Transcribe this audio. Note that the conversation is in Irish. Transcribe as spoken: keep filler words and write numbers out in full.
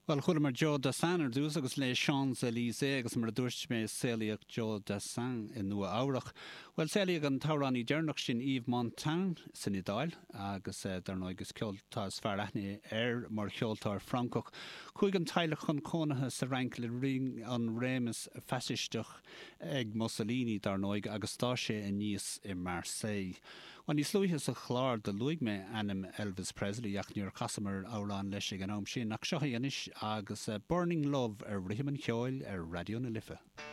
Well chualamar Joe Dassin ar dtús agus Les Champs-Élysées agus mar a dúirt mé saolaíodh Joe Dassin i Nua-Eabhrac. Well saolaíodh an t-amhránaí deireanach sin Yves Montand san Iodáil agus eh, dar ndóigh is ceoltóir is fearr aithne air mar cheoltóir Francach. Chuaigh an teaghlach chun cónaithe sa Fhrainc le linn an réimeas faisisteach ag Mussolini dar ndóigh agus d'fhás sé aníos i Marseille. Well níos luaithe sa chlár do luaigh mé ainm Elvis Presley ach níor chasamar amhrán leis ag an am sin ach seo é anois agus uh, Burning Love ar rithim an cheoil ar Raidió na Life.